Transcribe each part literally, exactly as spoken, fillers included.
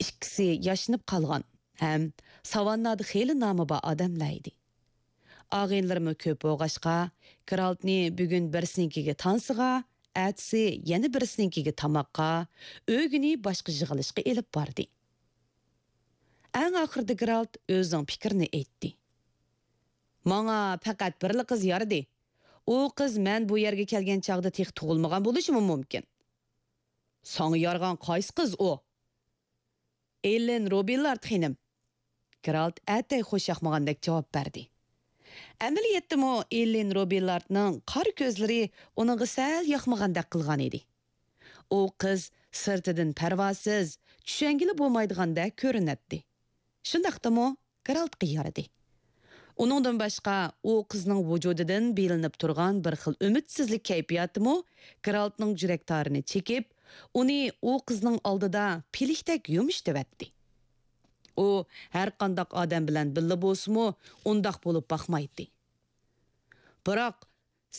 ئىككىسى ياشىنىپ قالغان ھەم ساۋاننادا خېلى نامى بار ئادەملەر ئىدى. ئاغىنىلىرىمۇ كۆپ بولغاچقا، گېرالتنى بۈگۈن بىرسىنىڭكىگە تانسىغا، ئەتىسى يەنە بىرسىنىڭكىگە تاماققا، ئۆگۈنى باشقا يىغىلىشقا ئېلىپ باردى. ئەڭ ئاخىرىدا گېرالت ئۆزىنىڭ پىكرىنى ئېيتتى. ماڭا پەقەت بىرلا قىز يارىدى. ئۇ قىز مەن بۇ يەرگە كەلگەن چاغدا تېخى تۇغۇلمىغان بولۇشىمۇ مۇمكىن. ساڭا يارىغان قايسى قىز ئۇ؟ ئېللېن روبىلارد خېنىم. گېرالت ئەتەي خوش ياقمىغاندەك جاۋاب بەردى. ئەمەلىيەتتىمۇ ئېللېن روبىلاردنىڭ قارا كۆزلىرى ئۇنىڭغا سەل ياقمىغاندەك قىلغان ئىدى. ئۇ قىز سىرتىدىن پەرۋاسىز، چۈشەنگىلى بولمايدىغاندەك كۆرۈنەتتى. شۇنداقتىمۇ گېرالتقا يارىدى. ئۇنىڭدىن باشقا، ئۇ قىزنىڭ ۋۇجۇدىدىن بىلىنىپ تۇرغان بىر خىل ئۈمىدسىزلىك كەيپىياتىمۇ گېرالتنىڭ يۈرەك تارىنى چېكىپ، ئۇنى ئۇ قىزنىڭ ئالدىدا پىلىكتەك يۇمشىتىۋەتتى. ئۇ ھەرقانداق ئادەم بىلەن بىللە بولسىمۇ، ئۇنداق بولۇپ باقمايتتى. بىراق،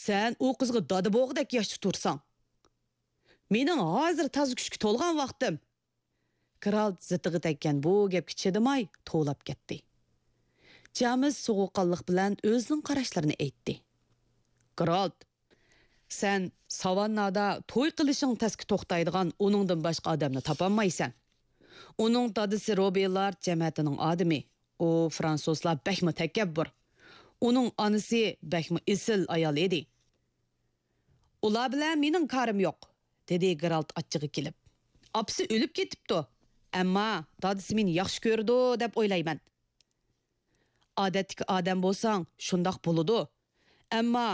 سەن ئۇ قىزغا دادا بولغۇدەك ياشتا تۇرساڭ. مېنىڭ ھازىر تازا كۈچكە تولغان ۋاقتىم. گېرالت زىتىغا تەگكەن بۇ گەپكە چىدىماي توۋلاپ كەتتى. جامېس سوغۇققانلىق بىلەن ئۆزىنىڭ قاراشلىرىنى ئېيتتى. گېرالت، سەن ساۋاننادا توي قىلىشىڭ تەسكە توختايدىغان ئۇنىڭدىن باشقا ئادەمنى تاپالمايسەن. ئۇنىڭ دادىسى روبىلارد جەمەتىنىڭ ئادىمى. ئۇ فرانسۇزلار بەكمۇ تەكەببۇر. ئۇنىڭ ئانىسى بەكمۇ ئېسىل ئايال ئىدى. ئۇلار بىلەن مېنىڭ كارىم يوق، دېدى گېرالت ئاچچىقى كېلىپ. ئاپىسى ئۆلۈپ كېتىپتۇ. ئەمما دادىسى مېنى ياخشى كۆرىدۇ دەپ ئويلايمەن. ئادەتتىكى ئادەم بولساڭ شۇنداق بولىدۇ. ئەمما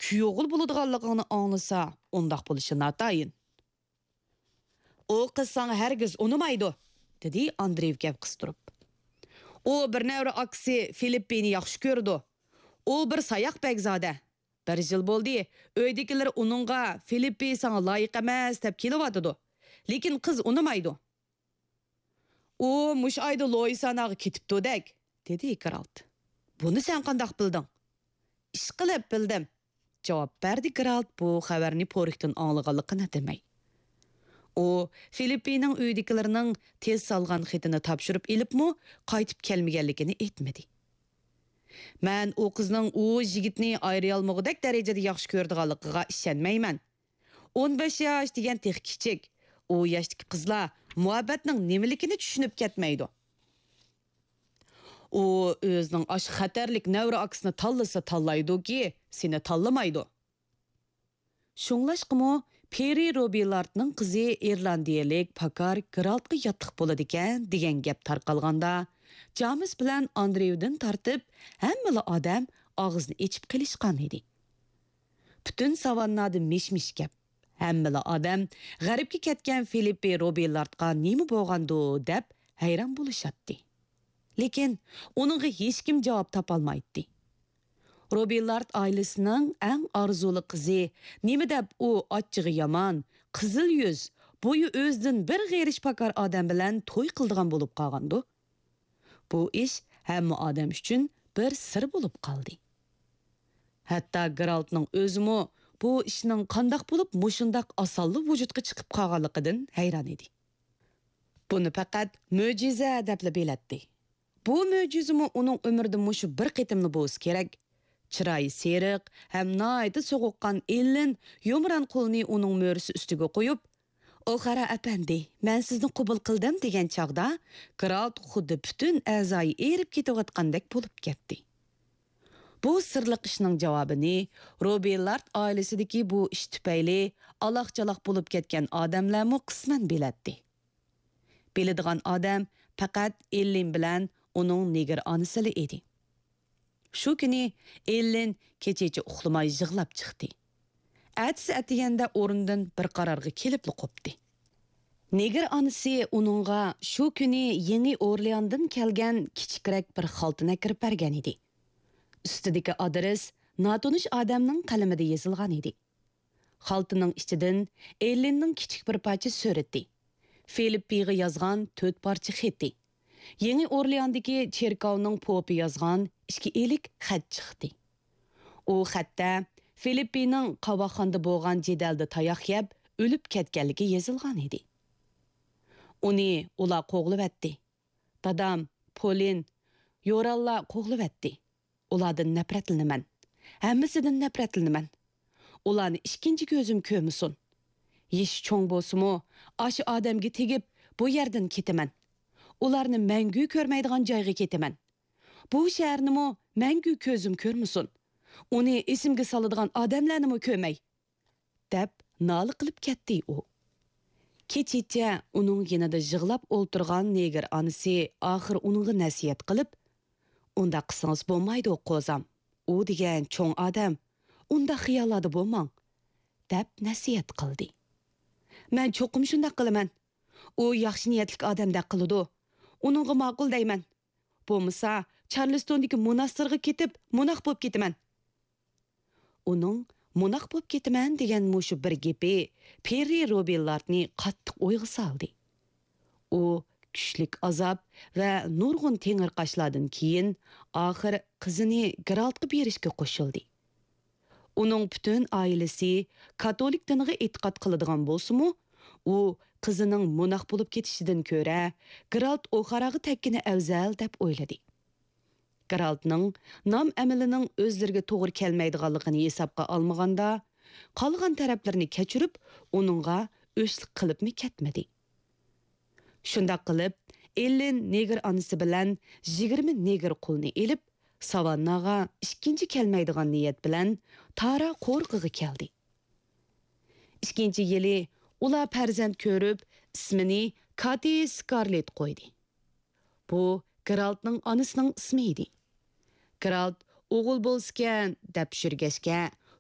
كۈيئوغۇل بولىدىغانلىقىڭنى ئاڭلىسا ئۇنداق بولۇشى ناتايىن. ئۇ قىز ساڭا ھەرگىز ئۇنىمايدۇ، دېدى ئاندرېيېۋ گەپ قىستۇرۇپ. ئۇ بىر نەۋرە ئاكىسى فىلىپپىنى ياخشى كۆرىدۇ. ئۇ بىر ساياق بەگزادە. بىر يىل بولدى، ئۆيدىكىلىرى ئۇنىڭغا فىلىپپى ساڭا لايىق ئەمەس دەپ كېلىۋاتىدۇ. لېكىن قىز ئۇنىمايدۇ. ئۇ مۇشۇ ئايدا لويساناغا كېتىپتۇدەك، دېدى گېرالت. بۇنى سەن قانداق بىلدىڭ؟ ئىشقىلىپ بىلدىم، جاۋاب بەردى گېرالت بۇ خەۋەرنى پورىكتىن ئاڭلىغانلىقىنى دېمەي. ئۇ فىلىپپىنىڭ ئۆيىدىكىلىرىنىڭ تېز سالغان خېتىنى تاپشۇرۇپ ئېلىپمۇ قايتىپ كەلمىگەنلىكىنى ئېيتمىدى. مەن ئۇ قىزنىڭ ئۇ يىگىتنى ئايرىيالمىغۇدەك دەرىجىدە ياخشى كۆرىدىغانلىقىغا ئىشەنمەيمەن. ئون بەش ياش دېگەن تېخى كىچىك. ئۇ ياشتىكى قىزلار مۇھەببەتنىڭ نېمىلىكىنى چۈشىنىپ كەتمەيدۇ. ئۇ ئۆزىنىڭ ئاشۇ خەتەرلىك نەۋرە ئاكىسىنى تاللىسا تاللايدۇكى، سېنى تاللىمايدۇ. شۇڭلاشقىمۇ پېرى روبىلاردنىڭ قىزى ئىرلاندىيەلىك پاكار گېرالتقا ياتلىق بولىدىكەن دېگەن گەپ تارقالغاندا، جامېس بىلەن ئاندرېيۋدىن تارتىپ ھەممىلا ئادەم ئاغزىنى ئېچىپ قېلىشقان ئىدى. پۈتۈن ساۋاننادا مىش-مىش گەپ. ھەممىلا ئادەم غەربكە كەتكەن فىلىپپى روبىلاردقا نېمە بولغاندۇ دەپ ھەيران بولۇشاتتى. لېكىن ئۇنىڭغا ھېچكىم جاۋاب تاپالمايتتى. روبىلارد ئائىلىسىنىڭ ئەڭ ئارزۇلۇق قىزى نېمە دەپ ئۇ ئاچچىقى يامان، قىزىل يۈز، بويى ئۆزىدىن بىر غېرىش پاكار ئادەم بىلەن توي قىلىدىغان بولۇپ قالغاندۇ؟ بۇ ئىش ھەممە ئادەم ئۈچۈن بىر سىر بولۇپ قالدى. ھەتتا گېرالتنىڭ ئۆزىمۇ بۇ ئىشنىڭ قانداق بولۇپ مۇشۇنداق ئاسانلا ۋۇجۇدقا چىقىپ قالغانلىقىدىن ھەيران ئىدى. بۇنى پەقەت مۆجىزە دەپلا بىلەتتى. بۇ مۆجىزىمۇ ئۇنىڭ ئۆمرىدە مۇشۇ بىر قېتىملا بولسا كېرەك. چىرايى سېرىق ھەم ناھايىتى سوغۇققان ئېللېن يۇمران قولىنى ئۇنىڭ مۈرىسى ئۈستىگە قويۇپ، «ئوخارا ئەپەندى، مەن سىزنى قوبۇل قىلدىم» دېگەن چاغدا، گېرالت خۇددى پۈتۈن ئەزايى ئېرىپ كېتىۋاتقاندەك بولۇپ كەتتى. بۇ سىرلىق ئىشنىڭ جاۋابىنى روبىلارد ئائىلىسىدىكى بۇ ئىش تۈپەيلى ئالاق-چالاق بولۇپ كەتكەن ئادەملەرمۇ قىسمەن بىلەتتى. بىلىدىغان ئادەم پەقەت ئېللېن بىلەن ئۇنىڭ نېگىر ئانىسىلا ئىدى. شۇ كۈنى ئېللېن كېچىچە ئۇخلىماي يىغلاپ چىقتى. ئەتىسى ئەتىگەندە ئورنىدىن بىر قارارغا كېلىپلا قوپتى. نېگىر ئانىسى ئۇنىڭغا شۇ كۈنى يېڭى ئورلېئاندىن كەلگەن كىچىكرەك بىر خالتىنى ئەكىرىپ بەرگەن ئىدى. ئۈستىدىكى ئادرېس ناتونۇش ئادەمنىڭ قەلىمىدە يېزىلغان ئىدى. خالتىنىڭ ئىچىدىن ئېللېننىڭ كىچىك بىر پارچە سۈرىتى، فىلىپپىغا يازغان تۆت پارچە خېتى، يېڭى ئورلېئاندىكى چېركاۋنىڭ پوپى يازغان ئىككى ئىلىك خەت چىقتى. ئۇ خەتتە فىلىپپىنىڭ قاۋاقخانىدا بولغان جېدەلدە تاياق يەپ ئۆلۈپ كەتكەنلىكى يېزىلغان ئىدى. ئۇنى ئۇلار قوغلىۋەتتى. دادام، پولىن، يورانلار قوغلىۋەتتى. ئۇلاردىن نەپرەتلىنىمەن. ھەممىسىدىن نەپرەتلىنىمەن. ئۇلارنى ئىككىنچى كۆزۈم كۆرمىسۇن. يېشى چوڭ بولسىمۇ، ئاشۇ ئادەمگە تېگىپ، بۇ يەردىن كېتىمەن. ئۇلارنى مەڭگۈ كۆرمەيدىغان جايغا كېتىمەن. بۇ شەھەرنىمۇ مەڭگۈ كۆزۈم كۆرمىسۇن. ئۇنى ئېسىمگە سالىدىغان ئادەملەرنىمۇ كۆرمەي. دەپ نالە قىلىپ كەتتى ئۇ. كېچىچە ئۇنىڭ يېنىدا يىغلاپ ئولتۇرغان نېگىر ئانىسى ئاخىر ئۇنىڭغا نەسىھەت قىلىپ، «ئۇنداق قىلسىڭىز بولمايدۇ، قوزام. ئۇ دېگەن چوڭ ئادەم. ئۇنداق خىياللاردا بولماڭ.» دەپ نەسىھەت قىلدى. «مەن چوقۇم شۇنداق قىلىمەن. ئۇ ياخشى نىيەتلىك ئادەمدەك قىلىدۇ. ئۇنىڭغا ماقۇل دەيمەن. بولمىسا، چارلىستوندىكى موناستىرغا كېتىپ، موناخ بولۇپ كېتىمەن.» ئۇنىڭ «موناخ بولۇپ كېتىمەن» دېگەن مۇشۇ بىر گېپى پېررى روبىللاردنى قاتتىق ئويغا سالدى. ئۇ كۈچلۈك ئازاب ۋە نۇرغۇن تېڭىرقاشلاردىن كېيىن، ئاخىر قىزىنى گېرالتقا بېرىشكە قوشۇلدى. ئۇنىڭ پۈتۈن ئائىلىسى كاتولىك دىنىغا ئېتىقاد قىلىدىغان بولسىمۇ، ئۇ قىزىنىڭ موناخ بولۇپ كېتىشىدىن كۆرە، گېرالت ئوخاراغا تەگكىنى ئەۋزەل دەپ ئويلىدى. گېرالتنىڭ نام-ئەمىلىنىڭ ئۆزلىرىگە توغرا كەلمەيدىغانلىقىنى ھېسابقا ئالمىغاندا، قالغان تەرەپلىرىنى كەچۈرۈپ، ئۇنىڭغا ئۆچلۈك قىلىپمۇ كەتمىدى. شۇنداق قىلىپ، ئېللېن نېگىر ئانىسى بىلەن يىگىرمە نېگىر قۇلنى ئېلىپ، ساۋانناغا ئىككىنچى كەلمەيدىغان نىيەت بىلەن تارا قورۇقىغا كەلدى. ئىككىنچى يىلى ئۇلار پەرزەنت كۆرۈپ، ئىسمىنى كاتى سكارلېت قويدى. بۇ گېرالتنىڭ ئانىسىنىڭ ئىسمى ئىدى. گېرالت ئوغۇل بولسىكەن دەپ يۈرگەچكە،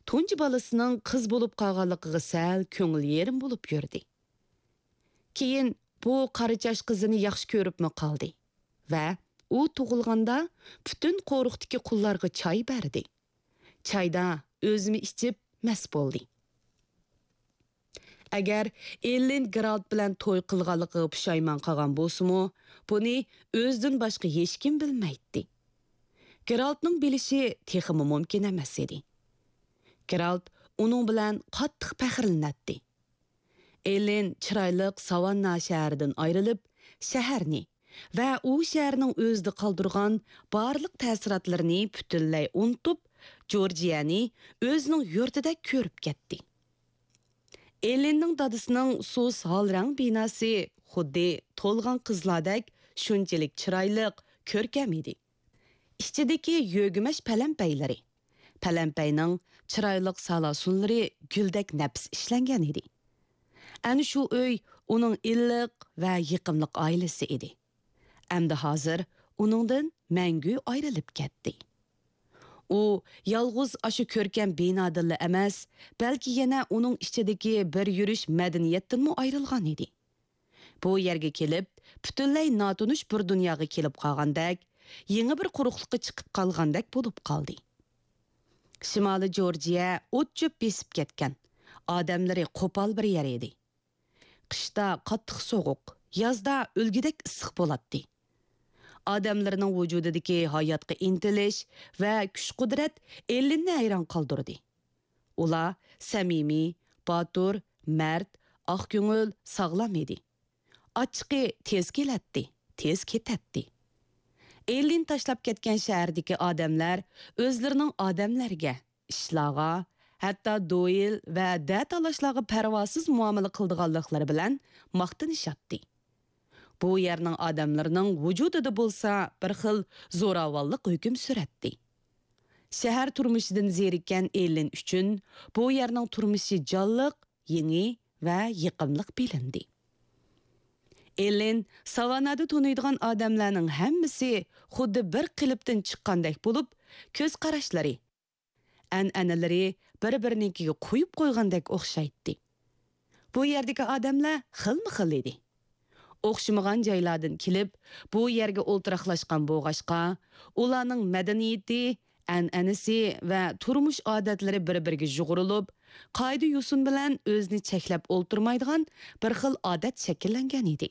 تۇنجى بالىسىنىڭ قىز بولۇپ قالغانلىقىغا سەل كۆڭۈل يېرىم بولۇپ يۈردى. كېيىن بۇ قارىچاش قىزىنى ياخشى كۆرۈپمۇ قالدى ۋە ئۇ تۇغۇلغاندا پۈتۈن قورۇقتىكى قۇللارغا چاي بەردى. چايدا ئۆزىمۇ ئىچىپ مەست بولدى. ئەگەر ئېللېن گېرالت بىلەن توي قىلغانلىقىغا پۇشايمان قىلغان بولسىمۇ، بۇنى ئۆزىدىن باشقا ھېچكىم بىلمەيتتى. گېرالتنىڭ بىلىشى تېخىمۇ مۇمكىن ئەمەس ئىدى. گېرالت ئۇنىڭ بىلەن قاتتىق پەخىرلىنەتتى. ئېللېن چىرايلىق ساۋاننا شەھىرىدىن ئايرىلىپ، شەھەرنى ۋە ئۇ شەھەرنىڭ ئۆزىدە قالدۇرغان بارلىق تەسىراتلىرىنى پۈتۈنلەي ئۇنتۇپ، جورجىيەنى ئۆزىنىڭ يۇرتىدەك كۆرۈپ كەتتى. ئېللېننىڭ دادىسىنىڭ سۇس ھال رەڭ بىناسى خۇددى تولغان قىزلاردەك شۇنچىلىك چىرايلىق، كۆركەم ئىدى. ئىچىدىكى يۆگىمەچ پەلەمپەيلىرى، پەلەمپەينىڭ چىرايلىق سالاسۇنلىرى گۈلدەك نەپىس ئىشلەنگەن ئىدى. ئەنە شۇ ئۆي ئۇنىڭ ئىللىق ۋە يېقىملىق ئائىلىسى ئىدى. ئەمدى ھازىر ئۇنىڭدىن مەڭگۈ ئايرىلىپ كەتتى. ئۇ يالغۇز ئاشۇ كۆركەم بىنادىنلا ئەمەس، بەلكى يەنە ئۇنىڭ ئىچىدىكى بىر يۈرۈش مەدەنىيەتتىنمۇ ئايرىلغان ئىدى. بۇ يەرگە كېلىپ، پۈتۈنلەي ناتونۇش بىر دۇنياغا كېلىپ قالغاندەك، يېڭى بىر قۇرۇقلۇققا چىقىپ قالغاندەك بولۇپ قالدى. شىمالىي جورجىيە ئوت-چۆپ بېسىپ كەتكەن، ئادەملىرى قوپال بىر يەر ئىدى. قىشتا قاتتىق سوغۇق، يازدا ئۆلگۈدەك ئىسسىق بولاتتى. ئادەملىرىنىڭ ۋۇجۇدىدىكى ھاياتقا ئىنتىلىش ۋە كۈچ-قۇدرەت ئېللىننى ھەيران قالدۇردى. ئۇلار سەمىمىي، باتۇر، مەرد، ئاق كۆڭۈل، ساغلام ئىدى. ئاچچىقى تېز كېلەتتى، تېز كېتەتتى. ئېللىن تاشلاپ كەتكەن شەھەردىكى ئادەملەر ئۆزلىرىنىڭ ئادەملەرگە، ئىشلارغا، ھەتتا دويىل ۋە دە تالاشلارغا پەرۋاسىز مۇئامىلە قىلىدىغانلىقلىرى بىلەن ماختىنىشاتتى. بۇ يەرنىڭ ئادەملىرىنىڭ ۋۇجۇدىدا بولسا بىر خىل زوراۋانلىق ھۆكۈم سۈرەتتى. شەھەر تۇرمۇشىدىن زېرىككەن ئېللىن ئۈچۈن بۇ يەرنىڭ تۇرمۇشى جانلىق، يېڭى ۋە يېقىملىق بىلىندى. ئېللىن ساۋاننادا تونۇيدىغان ئادەملەرنىڭ ھەممىسى خۇددى بىر قېلىپتىن چىققاندەك بولۇپ، كۆز قاراشلىرى، ئەنئەنىلىرى بىر-بىرىنىڭكىگە قويۇپ قويغاندەك ئوخشايتتى. بۇ يەردىكى ئادەملەر خىلمۇ خىل ئىدى. ئوخشىمىغان جايلاردىن كېلىپ، بۇ يەرگە ئولتۇراقلاشقان بولغاچقا، ئۇلارنىڭ مەدەنىيىتى، ئەنئەنىسى ۋە تۇرمۇش ئادەتلىرى بىر-بىرىگە يۇغۇرۇلۇپ، قائىدە-يوسۇن بىلەن ئۆزىنى چەكلەپ ئولتۇرمايدىغان بىر خىل ئادەت شەكىللەنگەن ئىدى.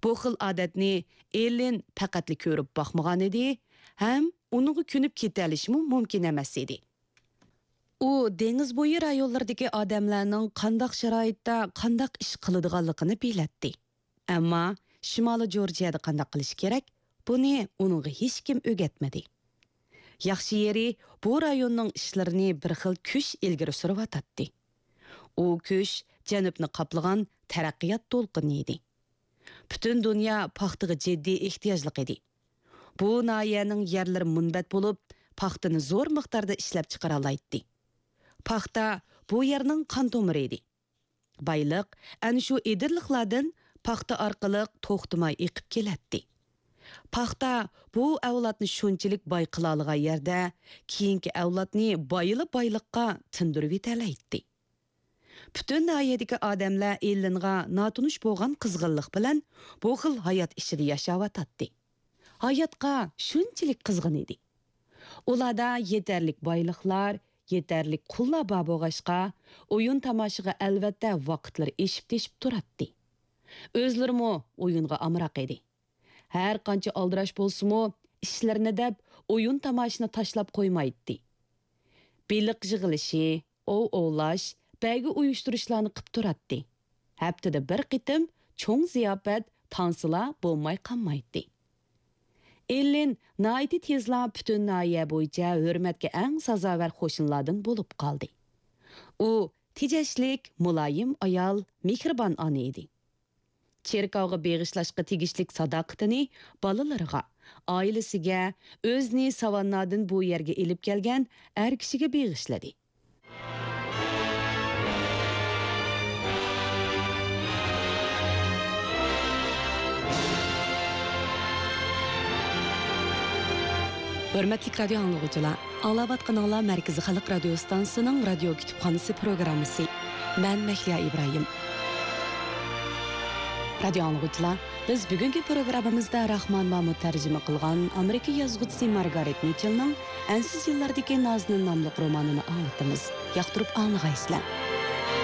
بۇ خىل ئادەتنى ئېللىن پەقەتلا كۆرۈپ باقمىغان ئىدى ھەم ئۇنىڭغا كۆنۈپ كېتەلىشىمۇ مۇمكىن ئەمەس ئىدى. ئۇ دېڭىز بويى رايونلىرىدىكى ئادەملەرنىڭ قانداق شارائىتتا قانداق ئىش قىلىدىغانلىقىنى بىلەتتى. ئەمما شىمالىي جورجىيەدە قانداق قىلىش كېرەك، بۇنى ئۇنىڭغا ھېچكىم ئۆگەتمىدى. ياخشى يېرى، بۇ رايوننىڭ ئىشلىرىنى بىر خىل كۈچ ئىلگىرى سۈرۈۋاتاتتى. ئۇ كۈچ جەنۇبنى قاپلىغان تەرەققىيات دولقۇنى ئىدى. پۈتۈن دۇنيا پاختىغا جىددىي ئېھتىياجلىق ئىدى. بۇ ناھىيەنىڭ يەرلىرى مۇنبەت بولۇپ، پاختىنى زور مىقداردا ئىشلەپچىقىرالايتتى. پاختا بۇ يەرنىڭ قان تومۇرى ئىدى. بايلىق ئەنە شۇ ئېدىرلىقلاردىن پاختا ئارقىلىق توختىماي ئېقىپ كېلەتتى. پاختا بۇ ئەۋلادنى شۇنچىلىك باي قىلالىغان يەردە، كېيىنكى ئەۋلادنى بايلا بايلىققا تىندۇرۇۋېتەلەيتتى. پۈتۈن ناھىيەدىكى ئادەملەر ئېللىنغا ناتونۇش بولغان قىزغىنلىق بىلەن بۇ خىل ھايات ئىچىدە ياشاۋاتاتتى. ھاياتقا شۇنچىلىك قىزغىن ئىدى. ئۇلاردا يېتەرلىك بايلىقلار، يېتەرلىك قۇللار بار بولغاچقا، ئويۇن تاماشىغا ئەلۋەتتە ۋاقىتلىرى ئېشىپ تېشىپ تۇراتتى. ئۆزلىرىمۇ ئويۇنغا ئامراق ئىدى. ھەر قانچە ئالدىراش بولسىمۇ، ئىشلىرىنى دەپ ئويۇن تاماشىنى تاشلاپ قويمايتتى. بېلىق يىغىلىشى، ئوۋ ئوۋلاش، بەيگە ئۇيۇشتۇرۇشلارنى قىپ تۇراتتى. ھەپتىدە بىر قېتىم چوڭ زىياپەت، تانسىلار بولماي قالمايتتى. ئېللىن ناھايىتى تېزلا پۈتۈن ناھىيە بويىچە ھۆرمەتكە ئەڭ سازاۋەر قوشنىلاردىن بولۇپ قالدى. ئۇ تېجەشلىك، مۇلايىم ئايال، مېھرىبان ئانا ئىدى. چېركاۋغا بېغىشلاشقا تېگىشلىك ساداقىتىنى بالىلىرىغا، ئائىلىسىگە، ئۆزىنى ساۋاننادىن بۇ يەرگە ئېلىپ كەلگەن ئەر كىشىگە بېغىشلىدى. ھۆرمەتلىك رادىيو ئاڭلىغۇچىلار، ئاڭلاۋاتقىنىڭلار مەركىزىي خەلق رادىيو ئىستانسىسىنىڭ رادىيو كۇتۇپخانىسى پروگراممىسى. مەن مەھلىيا ئىبراھىم. رادىيو ئاڭلىغۇچىلار، بىز بۈگۈنكى پروگراممىمىزدا راخمان مامۇت تەرجىمە قىلغان ئامېرىكا يازغۇچىسى مارگارېت مىچېلنىڭ ئەنسىز يىللاردىكى نازنىن ناملىق رومانىنى ئاڭلىتىمىز. ياقتۇرۇپ ئاڭلىغايسىلەر.